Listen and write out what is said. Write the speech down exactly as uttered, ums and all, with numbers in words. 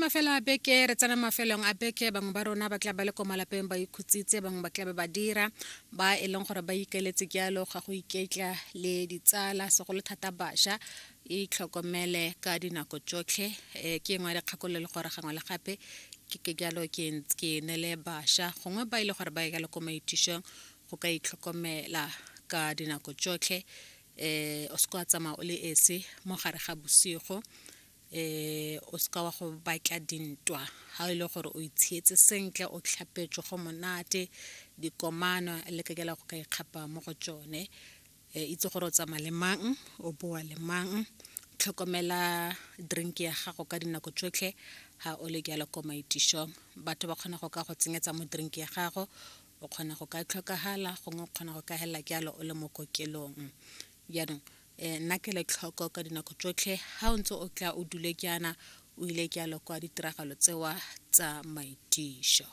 Mafelo a beke, re tsena mafelong a beke. Bangwe ba rona ba tla ba le ko malapeng ba ikhutsitse, bangwe ba tla be ba dira, ba e leng gore ba ikeletse jalo ga go iketla le ditsala, segolo thata bašwa. Itlhokomele ka dinako tsotlhe. um ke engwe ya dikgakololo le gore gangwe le gape ke ke jalo ke ke nele bašwa, gongwe ba ile gore ba ye jalo ko maitišong, go ka itlhokomela ka dinako tsotlhe. um O se ka wa tsamaya o le esi mo gare ga bosigo. um O seka wa go batla dintwa ga e le gore o itshietse sentle, o tlhapetswe go monate. Dikomano le ka go ka ikgapa mo go tsone. um Itse gore o tsamaya le mang, o boa le mang. Tlhokomela drink ya gago ka dinako tsotlhe ga o le jalo ko maitišong. Batho ba kgona go ka go tsenyetsa mo drink ya gago, o kgona go ka tlhokagala, gongwe o kgona go ka helela jalo o le mo kokelong. Jaanong um nna kelotlhoko ka dinako tsotlhe ga o ntse o tla o dule jaana, o ile jalo kwa ditiragalo tsewa tsa maitišo.